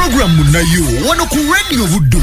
Program Munayo wano ku Radio Buddu.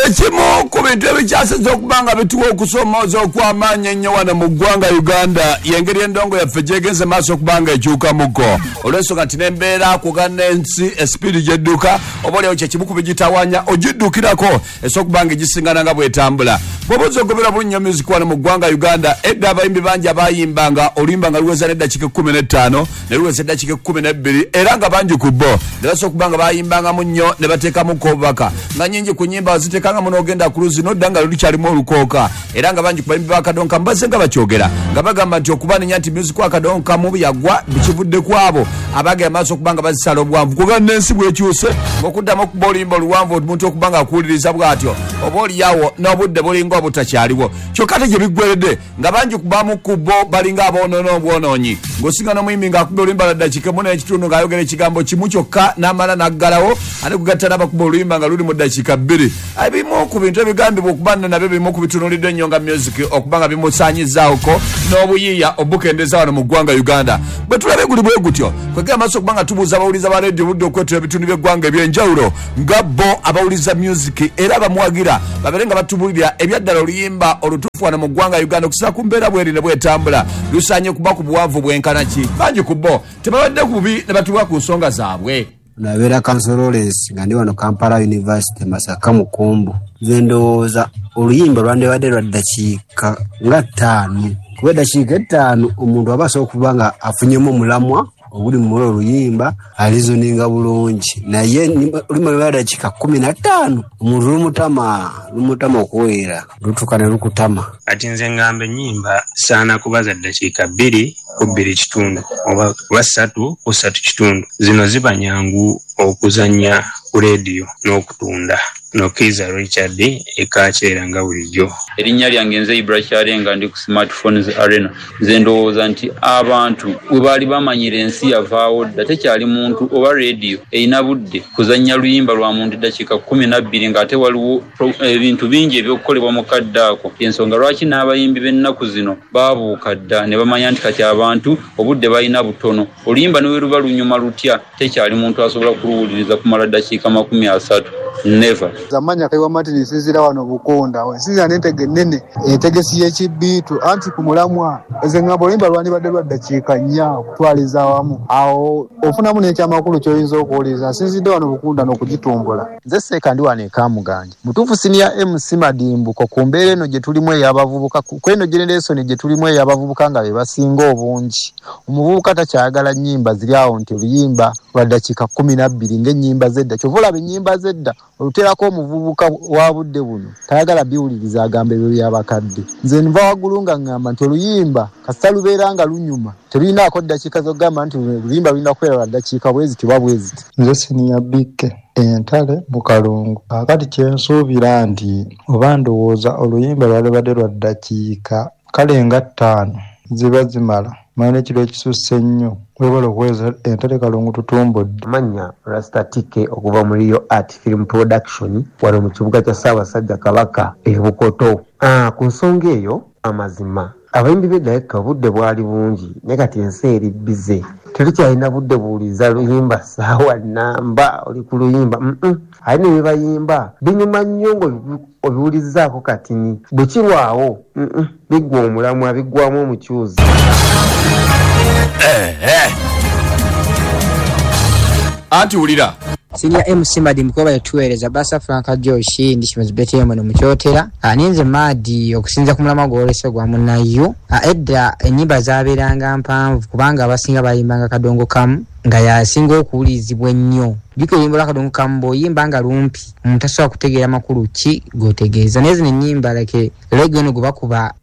Ekimu ku bintu ebikyasiza okuba nga bituwa okusomooza okw'amaanyi ennyo wano mu ggwanga Uganda y'engeri endongo yaffe gyegenze maaso okuba nga ekyukamuko, olw'ensonga nti n'embeera kugana ensi esipiidi gy'edduka oba oliawo kye kimu ku bigitawaanya ogiddukirako esobola okuba nga egisingana nga bw'etambula. Bw'oba ozze ogobera bulungi nnyo music wano mu ggwanga Uganda, edda abayimbi bangi abayimbanga oluyimba nga luweza n'eddakiika ekkumi n'ettaano ne luweza eddakiika ekkumi n'ebbiri, era nga bangi ku bo ne basobola okuba nga bayimbangamu nnyo ne bateekamuko obubaka nga nnyingi ku nnyimba baziteekanga muno ogenda ku luzzi n'odda nga lukyalimu olukooka, era nga bangi ku bayimbi ba Kadonkamu bazze nga bakyogera nga bagamba nti okubanenya nti music wa Kadonkamu yagwa kivudde ku abo abagenda maaso okuba nga bazisala obuwanvu, kuba n'ensi bw'ekyuse ng'okuddamu okuba oluyimba oluwanvu omuntu okuba nga akuwuliriza bw'atyo oba oliawo n'obudde bulinga obutakyaliwo. Kyokka ate gye biggweredde nga bangi kubamu ku bo balinga aboonoona obwonoonyi, ng'osinga n'omuyimbi ng'akuba oluyimba lwa ddakiika emu n'ekitundu ng'ayogera ekigambo kimu kyokka n'amala n'aggalawo, ate kugatta n'abakuba oluyimba nga luli mu ddakiika bbiri. Ebimu ku bintu ebigambibwa okuba nno nabyo bimu ku bitunuuliddwa ennyo nga music okuba nga bimusaanyizaawoko n'obuyiiya obukendeeza wano mu ggwanga Uganda. Bwe tulabye guli bwe gutyo, kwegera maaso okuba nga tubuuza abawuliza ba leediyo obudde okwetoola ebitundu by'eggwanga eby'enjawulo nga bo abawuliza music era abamuwagira babeere nga batubulira ebyaddala oluyimba olutuufu wano mu ggwanga Uganda okusinziira ku mbeera bweri ne bwetambula lusaanye kuba ku buwanvu bwenkana ki. Bangi ku bo tebabadde bubi ne batuwa ku nsonga zaabwe. Nabeera Council Lawrence nga ndi wano Kampala University Masaka Mukumbu. Nze ndowooza oluyimba lwandibadde lwa ddakiika nga ttaano, kuba eddakiika ettaano omuntu aba asobola okuba nga afunyemu omulamwa oguli mu oluyimba alizoninga bulungi, naye oluyimba lwa ddakiika 15 omuntu lumutama okuweera lutuuka ne lukutama. Kati nze ngamba ennyimba saana kuba za ddakiika 2 ku 2.5 oba 3 ku 3.5. Zino ziba nyangu okuzannya ku leediyo n'okutunda. Nokiza Richard ekakyera nga bulijjo. Erinnya lyange nze Ibra Kyarenga, ndi ku Smartphones Arena. Nze ndowooza nti abantu we baali bamanyira ensi yavaawo dda, tekyali muntu oba leediyo erina budde kuzannya luyimba lwa muntu eddakiika 12 ng'ate waliwo ebintu bingi eby'okukolebwa mu kadde ako. Ensonga lwaki n'abayimbi b'ennaku zino baabuuka dda ne bamanya nti kati abantu obudde balina butono. Oluyimba ne bwe luba lunyuma lutya, tekyali muntu asobola kuluwuliriza kumala ddakiika 30. Never. Amanya Kaiwa Martin nsinziira wano Bukonda. Nsinziira n'entege ennene entegesi y'ekibbiitu anti ku mulamwa nze ngamba oluyimba lwandibadde lwa ddakiika 4 okutwaliza awamu, awo ofunamu n'ekyamakulu ky'oyinza okuwuliriza. Nsinzidde wano Bukunda n'okugitumbula. Nze Seeka ndi wano e Kamuganje. Mutuufu siniya MC Madimbuko ku mbeera eno gye tulimu ey'abavubuka, ku eno generation gye tulimu ey'abavubuka nga be basinga obungi. Omuvubuka takyayagala nnyimba ziri awo nti oluyimba lwa ddakiika 12 ng'ennyimba z'edda. Kyova olaba ennyimba z'edda oluteerako omuvubuka wa budde buno tayagala biwuliriza, agamba ebyo by'abakadde. Nze nva waggulu nga ŋŋamba nti oluyimba kasita lubeera nga lunyuma terulinaako ddakiika z'okugamba nti oluyimba lulina kubeera lwa ddakiika bwe ziti oba bwe ziti. Nze siniya Bikke entale mu Kalungu. Kaakati kye nsuubira nti oba ndowooza oluyimba lwalibadde lwa ddakiika kale nga 5 ziba zimala. Manyi n'ekiro ekisusse ennyo. Webale okuweereza entale Kalungu tutumbudde. Amanya Rasta TK okuva mu Rio Art Film Production wano mu kibuga kya Ssaabasajja Kabaka e Bukoto. Ku nsonga eyo amazima abayimbi b'edda obudde bwali bungi, naye kati ensi eri bize, tetukyalina budde buwuliriza luyimba ssaawa nnamba oli ku luyimba. Ate ne bye bayimba binyuma nnyo ng'obiwulirizaako katini, bwe kirwawo biggwa omulamwa, biggwamu omukyuzi. Anti wulira Senior MC Madimbuko yatuweereza Basa Frank Josh ndi Shimazi Betty no mukyotera. Ninze Madi okusinza ku mulamwa gw'olese gwa munnayo. Edda ennyimba zaabeeranga mpanvu kubanga abasinga bayimbanga kadongo kamu nga yasinga okuwulirizibwa ennyo. Jjukira oluyimba lwa kadongo kamu bw'oyimba nga lumpi omuntu tasobola kutegeera makulu ki g'otegeeza. Naye zino ennyimba like reggae eno gwe bakuba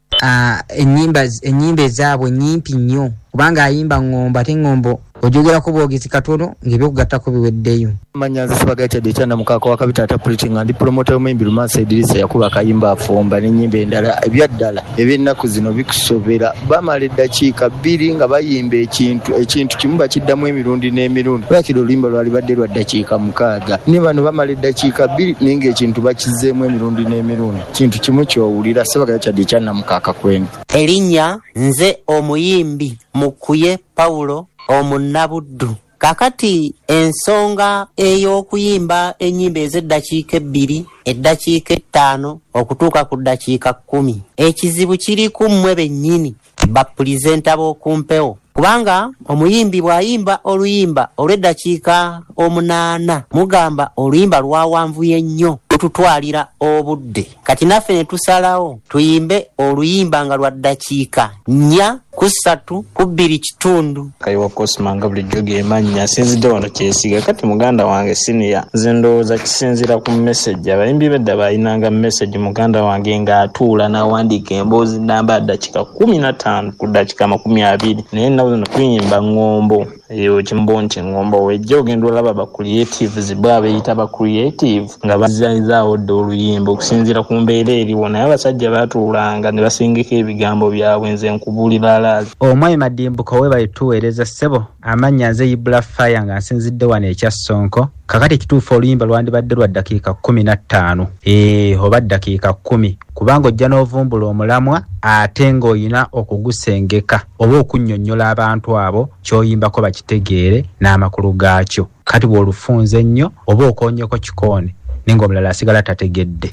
ennyimba ezaabwe nnyimpi nnyo kubanga ayimba ŋŋombo ate ŋŋombo ojogerako bwogezi katono ng'ebyokugattako biweddeyo. Manya nze Sibaga Richard Ekyana Mukaaka wa Kabita ata Pretty nga ndi promoter w'omuyimbi Lumansi Edirisa yakuba akayimba afumba n'ennyimba endala. Ebyaddala eby'ennaku zino bikusobera, bamala eddakiika 2 nga bayimba ekintu kimu bakiddamu emirundi n'emirundi. Lwakiri oluyimba lwalibadde lwa ddakiika 6, ne bano bamala eddakiika 2 naye ng'ekintu bakizzeemu emirundi n'emirundi. Kintu kimu ky'owulira. Sibaga Richard Ekyana Mukaaka kwendi. Erinnya nze omuyimbi Mukuye Paulo omunnabuddu. Kakati ensonga ey'okuyimba ennyimba ez'eddakiika 2, eddakiika 5 okutuuka ku ddakiika 10, ekizibu kiri ku mmwe bennyini bapulizenta b'okumpewo, kubanga omuyimbi bw'ayimba oluyimba olw'eddakiika 8 mugamba oluyimba lwawanvuye nnyo, lututwalira obudde. Kati naffe ne tusalawo tuyimbe oluyimba nga lwa ddakiika 4 ku 3 ku 2.5. Kayiwa Cosma nga bulijjo gemannya, nsinzidde wano kyesiga. Kati muganda wange siniya, nze ndowooza kisinziira ku message. Abayimbi b'edda baayinanga message, muganda wange ng'atuula n'awandiika emboozi namba ddakiika 15 ku ddakiika 20, naye ennaku zino tuyimba ŋŋombo. Eyo kimbo nti ŋŋombo wejja ogenda olaba ba creatives bo abeeyita ba creative nga bazizaawo dda oluyimba okusinziira ku mbeera eriwo, naye abasajja baatuulanga ne basengeka ebigambo byabwe. Nze nkubuulira alaali. Omwami Madimbuko webale tuweereza ssebo. Amannya nze Ibula Fire nga nsinzidde wano ekya Ssonko. Kakati ekituufu oluyimba lwandibadde lwa ddakiika 15 oba ddakiika 10, kubanga ojja n'ovumbula omulamwa ate ng'olina okugusengeka oba okunnyonnyola abantu abo ky'oyimbako bakitegeere n'amakulu gaakyo. Kati bw'olufunze ennyo oba okoonyeko kikoone naye ng'omulala asigala tategedde.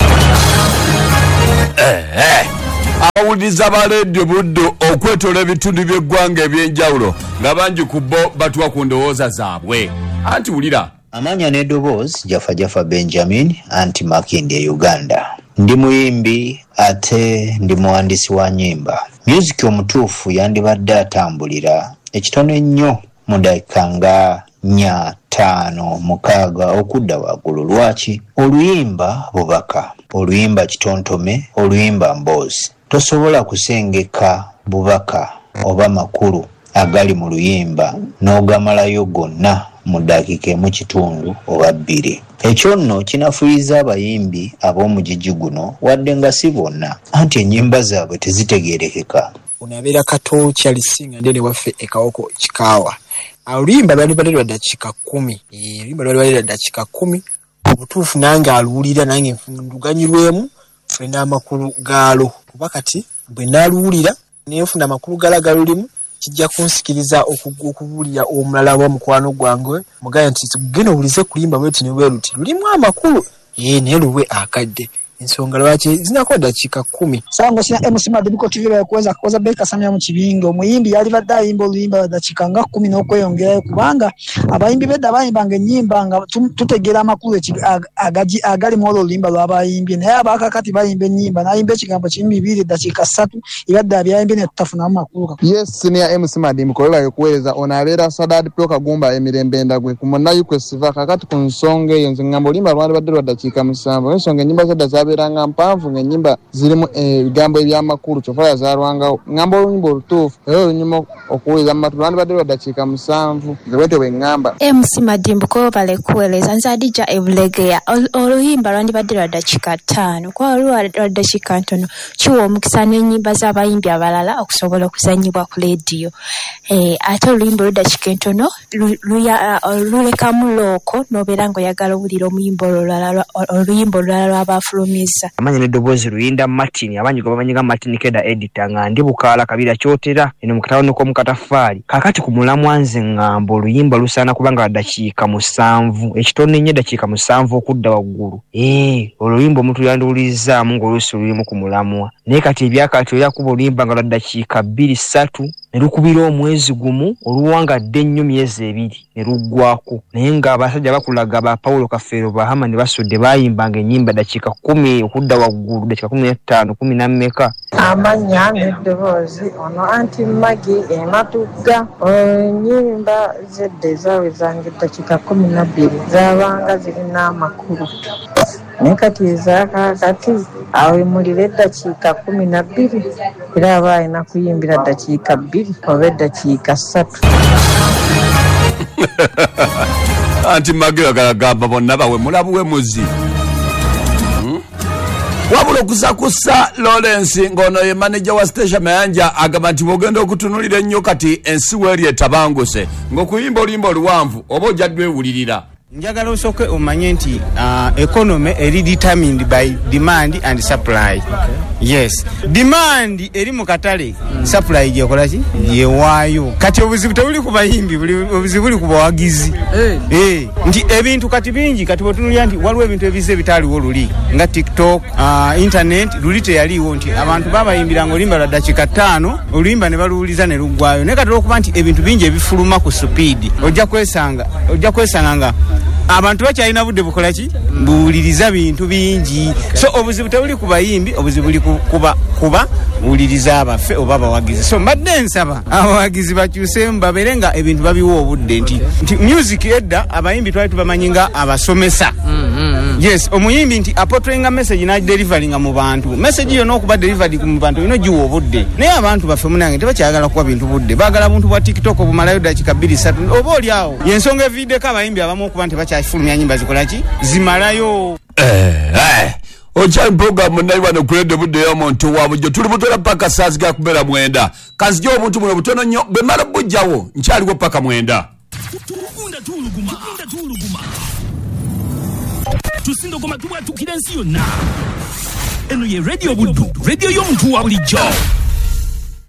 Abawuliriza ba leediyo Buddu okwetoola ebitundu by'eggwanga eby'enjawulo nga bangi ku bo batuwa ku ndowooza zaabwe. Anti wulira. Amanya n'eddoboozi Jafa Jafa Benjamin anti Makindye e Uganda. Ndi muyimbi ate ndi muwandiisi wa nnyimba. Myuziki omutuufu yandibadde atambulira ekitono ennyo mu ddakiika nga 4, 5, 6 okudda waggulu. Lwaki? Oluyimba bubaka, oluyimba kitontome, oluyimba mboozi. Tosobola kusengeka bubaka oba makulu agali mu luyimba n'ogamalayo gonna mu ddakiika 1.5 oba 2. Ekyo nno kinafuyiza abayimbi ab'omugigi guno wadde nga si bonna, anti ennyimba zaabwe tezitegeerekeka. Ono abeera Kato Charles nga ndene waffe e Kawoko Kikaawa. Oluyimba lwalibadde lwa ddakiika 10. Oluyimba lwalibadde lwa ddakiika 10. Obutuufu nange aluwulira nange nduganyulwemu nfune n'amakulu gaalo, kuba kati bwe naaluwulira nenfuna amakulu gaalo agalulimu kijja kunsikiriza okubuulira omulala oba mukwano gwange mugambe nti genda owulize kulimba bwe luti ne bwe luti lulimu amakulu, naye luwe akadde. Ensonga lwaki zinako ddakiika 10. Sango sina MC Madimbuko TV bakuweza kukoza Beka Samia mu kibinge. Omuyimbi yalibadde ayimba oluyimba lwa ddakiika nga 10 n'okweyongerayo, kubanga abayimbi b'edda bayimbanga ennyimba nga tutegeera amakulu agali mu olwo oluyimba lw'abayimbye, naye abaakakati bayimba ennyimba n'ayimba ekigambo kimu 2 ddakiika 3 ebadde abyayimbye ne tutafunamu makulu. Yes, senior MC Madimbuko webale kuweereza. Ono abeera Sadad Pro Kagumba emirembe endagwe ku munnayukwe Siva. Kakati ku nsonga eyo nze ngamba oluyimba lwandibadde lwa ddakiika 7. Ensonga ennyimba z'edda zabeeranga mpanvu ng'ennyimba zirimu ebigambo eby'amakulu, kyova yazaalwangawo. Ngamba oluyimba olutuufu era olunyuma okuwuliriza mu matu lwandibadde lwa ddakiika 7. Nze bwetyo bwe ŋŋamba. MC Madimbuko webale kuweereza. Nze Adija Ebulegeya. Oluyimba lwandibadde lwa ddakiika 5, kuba lwa ddakiika ntono kiwa omukisa n'ennyimba z'abayimbi abalala okusobola okuzannyibwa ku leediyo. Ate oluyimba olw'eddakiika entono lulekamu looko n'obeera ng'oyagala owulira oluyimba olulala lw'abafulumiza. Amanya n'eddoboozi Luyinda Martin, abangi gwe bamanyi nga Martin Keda editor, nga ndi Bukaala Kabira Kyotera eno mu katawuni k'omu Kataffaali. Kaakati ku mulamwa nze ŋŋamba oluyimba lusaana kubanga lwa ddakiika 7, ekitono ennyo eddakiika 7 okudda waggulu. Oluyimba omuntu yandiwulirizaamu ng'oluusi lulimu ku mulamwa, naye kati ebyakati oli akuba oluyimba nga lwa ddakiika 2, 3 ne lukubira omwezi gumu, oluwangadde ennyo myezi 2 ne luggwako. Naye ng'abasajja bakulaga ba Paulo Kafeero Bahama ne Basudde bayimbanga ennyimba ddakiika 10 okudda waggulu, ddakiika 15, 10 na mmeka. Amannya n'eddoboozi ono anti Maggie Ematugga. Ennyimba z'edda ezaawezanga eddakiika 12 zaabanga zirina amakulu, naye kati ezaakaakati awemulira eddakiika 12 era aba alina kuyimbira ddakiika 2 oba eddakiika 3. Anti Maggie agamba bonna bawemula buwemuzi. Wabula okusakusa Lawrence ng'ono ye manager wa Station Mayanja agamba nti bw'ogenda okutunulira ennyo kati ensi weeri etabanguse ng'okuyimba oluyimba oluwanvu oba ojja ddwewulirira. Njagala osooke omanye nti economy eri determined by demand and supply. Yes, demand eri mu katale, supply gyekola ki yewaayo. Kati obuzibu tebuli ku bayimbi, obuzibu buli ku bawagizi. Nti ebintu kati bingi, kati bwetunulira nti waliwo ebintu ebize ebitaaliwo luli nga TikTok, internet luli teyaliwo, nti abantu babayimbiranga oluyimba lwa ddakiika 5, oluyimba ne baluwuliza ne luggwayo. Naye kati olwokuba nti ebintu bingi ebifuluma ku supiidi, ojja kwesanga nga abantu bakyalina budde bukola ki, buwuliriza bintu bingi. So obuzibu tebuli ku bayimbi, obuzibu buli kuba buwuliriza abaffe oba abawagizi. So mbadde nsaba abawagizi bakyuseemu, babeere nga ebintu babiwa obudde. Nti music edda abayimbi twali tubamanyi nga abasomesa. Yes, omuyimbi nti apotoinga message n'adeliveringa mu bantu. Message yonna okuba delivered mu bantu olina ogiwa obudde. Naye abantu baffe munange tebakyagala kuwa bintu budde, baagala buntu bwa TikTok obumalayo ddakiika 2-3 oba oli awo. Yensonga eviiddeko abayimbi abamu okuba nti bakyafulumya nnyimba zikola ki, zimalayo. Okyali program nayi wano ku Radio Budde y'omuntu wa bulijjo, tuli butola paka saa ziga kubeera 9. Kanzije obuntu buno butono nnyo, bwe mmala bujjawo nkyaliwo paka 9. Tugunda tusindogoma tubwatukira ensi yonna. Eno ye Radio Buddu, radio y'omuntu wa bulijjo.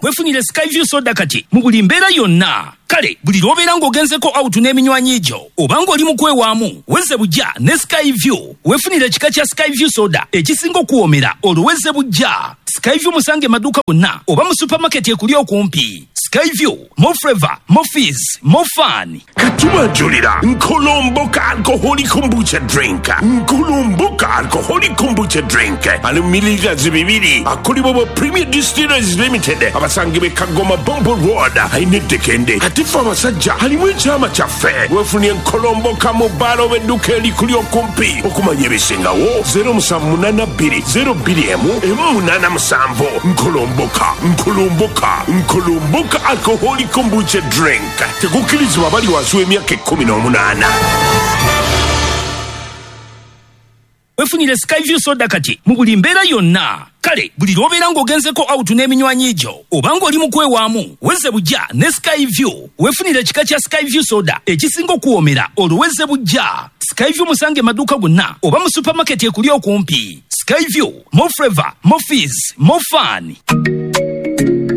Wefunire Skyview soda kati mu buli mbeera yonna. Kale buli lw'obeera ng'ogenzeko out n'eminywanyi gyo oba ng'oli mu kwewaamu, wezze bujja ne Skyview. Wefunire ekika kya Skyview soda ekisinga okuwoomera, olwo wezze bujja. Skyview musange maduuka gonna oba mu supermarket ekuli okumpi. Skyview, more flavor, more fizz, more fun. Katubajulira Nkolomboka alcoholic kombucha drink. Nkolomboka alcoholic kombucha drink ali mililita 2 akolebwa bwa Premier Distillers Limited, abasangibwa e Kagoma Bombo Road, alina eddekende. Ate ffe abasajja alimu ekyama kyaffe. Weefunye Nkolomboka mu bbaala oba edduuka erikuli okumpi. Okumanya ebisingawo 0782 02 187. Nkolomboka, Nkolomboka, Nkolomboka alcoholic kombucha drink. Tekukkirizibwa abali wansi w'emyaka 18. Wefunire Skyview soda kati mu buli mbeera yonna. Kale buli lw'obeera ng'ogenzeko out n'eminywanyi gyo oba ng'oli mu kwewaamu, wezze bujja ne Skyview. Wefunire ekika kya Skyview soda ekisinga okuwoomera, olwo wezze bujja. Skyview musange maduuka gonna oba mu supermarket ekuli okumpi. Skyview, more flavor, more fizz, more fun.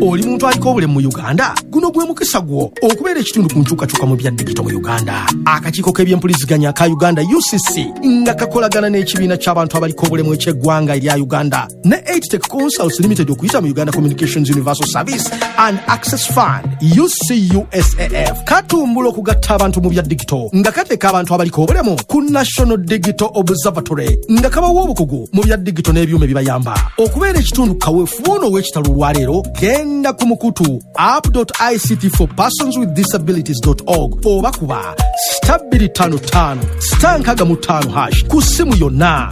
Oli muntu aliko obulemu mu Uganda, guno gwe mukisa gwo okubeera ekitundu ku nkyukakyuka mu bya digito mu Uganda. Akakiiko k'ebyempuliziganya ka Uganda UCC nga kakolagana n'ekibiina ky'abantu abaliko obulemu eky'eggwanga erya Uganda ne 8Tech Consults Limited okuyita mu Uganda Communications Universal Service and Access Fund UCUSAF katumbula okugatta abantu mu bya digito nga kateeka abantu abaliko obulemu ku National Digital Observatory nga kabawa obukugu mu bya digito n'ebyuma ebibayamba okubeera ekitundu. Kaweefube ono ow'ekitalo olwaleero, genda ku mukutu app.ict for persons with disabilities.org oba kuba star 255 star 65 hash ku ssimu yonna.